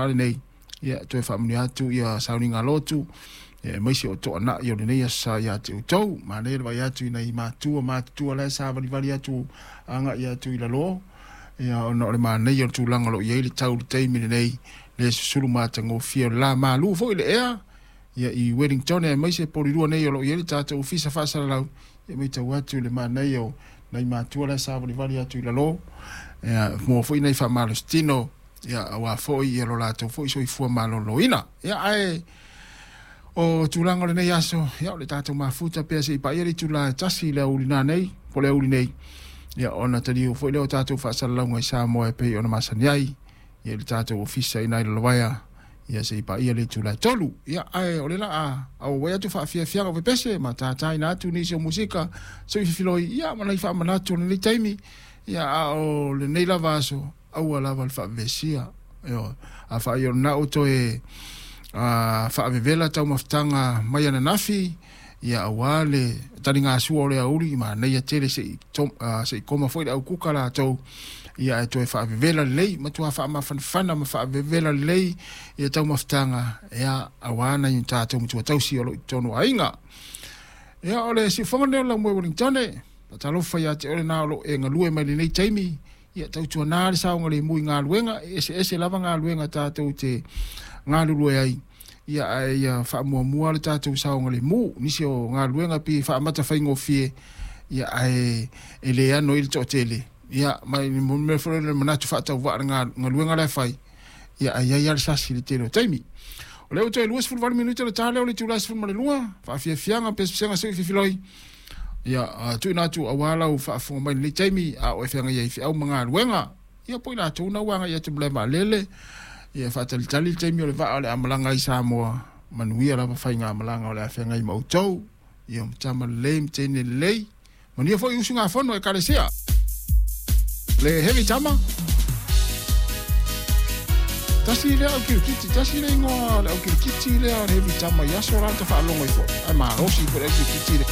Lenei, ia toe faamanuia atu ia sauniga lotu, ia aemaise o toanai o lenei aso sa ia te outou. Manaia le vaai atu i nai matua matutua la e savalivali atu agai atu i lalo, ia ona o le manaia o le tulaga o lo o i ai le tau i le taimi lenei, le susulu matagofie o le la malu foi le ea, ia i Wellington aemaise Polilua nei o lo o i ai le tatou ofisa faasalalau, ia matau atu i le manaia o nai matua la e savalivali atu i lalo, ia maua foi nai faamalositino, ia aua foi ia lo latou foi soifua maloloina. Ia ae o tulaga o lenei aso, ia o le tatou mafuta pea seia paia le itula e 1 i le aoauli nanei, po o le aoauli nei, ia ona taliu foi lea o tatou faasalalauga i Samoa e pei ona masani ai, ia i le tatou ofisa i ina i Lalovaea, ia seia paia le itula e 3. Ia ae o le laa auauai atu faafiafiaga o pepese ma tataina atu nisi o musika soifiloi, ia ma nai faamanatu o lenei taimi, ia a o lenei lava aso, aua lava le faavevesia. Ioe. Afai o lena ua toe faavevela taumafataga mai ananafi, ia aua le taligasua o le aoauli, manaia tele se i koma foi le aukuka latou, ia ae toe faavevela lelei, matua faamafanafana ma faavevela lelei ia taumafataga, ia aua nai o tatou matua tausi o lo o i totonu o aiga. Ia o le siufofoga lenei o le laumua i Wellington, faatalofa ia te oe lena o lo o e galue mai lenei taimi, ia tautuana le saogalemu i galuega, e eseese lava galuega tatou te galulue ai, ia ae ia faamuamua le tatou saogalemu. Nisi o galuega pei e faamata faigofie, ia ae e le ano ai le toatele, ia ma le mea foi lele o le manatu faatauvaa i le galuega la e fai, ia ae i ai lava le sasi i le tele o taimi. O lea ua toe 28 minute ona ta lea o le itula e 12, faafiafiaga pesepesega seu fifiloi, ia tuuina atu aua lau faafofoga mai i lenei taimi, a o e feagai ai i feau ma galuega, ia po o i latou na ua agai atu i le malae vaalele, ia faatalitali le taimi o le vaa o le a malaga ai i Samoa, manuia lava faigamalaga o le a feagai ma outou, ia ma tama lelei ma teine lelei, manuia foi usugafono Ekalesia. Le heavy tama. Tasi lea au kirikiti, tasi le igoa o le au kirikiti lea o le heavy tama i aso la ta faalogo ai foi. Ai malosi foi le au kirikiti le.